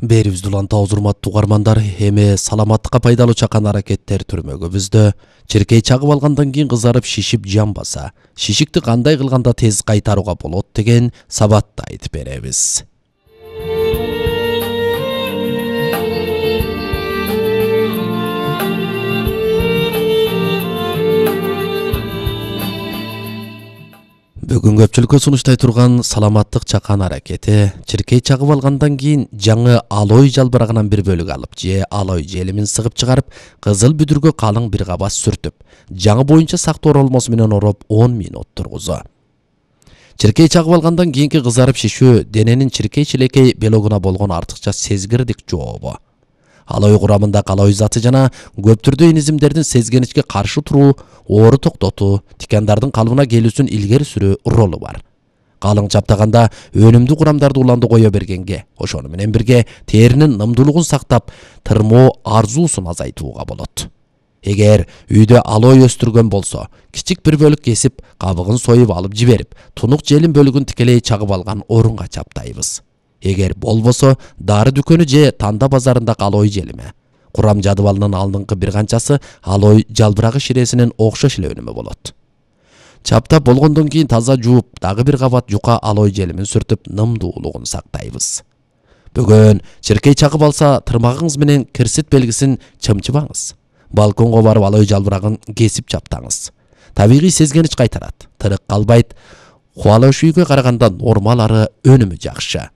Берибизди уланта урматтуу угармандар, эми саламаттыкка пайдалуу чакан аракеттер түрмөгүбүздө черкей чагып алгандан кийин кызарып шишип жанбаса, шишикти кандай кылганда тез кайтарууга болот деген сабатты айтып беребиз. Бүгүн көпчүлүккө сунуштай турган саламаттык чакан аракети черкей чагып алгандан кийин жаңы алой жалбырагынан бир бөлүк алып же алой желимин сыгып чыгарып, кызыл бүдүргө калың бир кабас сүртүп, жаңы боюнча сактоо оролмосу менен ороп 10 мүнөт тургузу. Черкей чагып алгандан кийинки кызарып шишүү дененин чиркей чилекей белогуна болгон артыкча сезгирдик жообу. Алой курамында калой заты жана көп түрдүү инизимдердин сезгеничке каршы туруу, оору токтотуу, тикандардын калыбына келүүсүн илгери сүрүү ролу бар. Калың чаптаганда өнүмдүү курамдарды уланды кое бергенге, ошону менен бирге теринин нымдуулугун сактап, тырмоо арзуусун азайтууга болот. Эгер үйдө алой өстүргөн болсо, кичик бир бөлүк кесип, кабыгын союп алып жиберип, тунук желим бөлүгүн тикелей чагып алган орунга чаптайбыз. Эгер болбосо, дары дүкөнү же танда базарындагы алой желими. Курам жадыбалынын алдыңкы бир канчасы алой жалбырагы ширесинин окшош эле өнүмү болот. Чаптап болгондон кийин таза жууп, дагы бир кабат жука алой желимин сүртүп, нымдуулугун сактайбыз. Бүгүн черкей чагып алса, тырмагыңыз менен кирсит белгисин чымчыбаңыз. Балконго барып алой жалбырагын кесип чаптаңыз. Табигый сезгенич кайтарат, тырык калбайт. Кубалыш үйгө караганда нормалары өнүмү жакшы.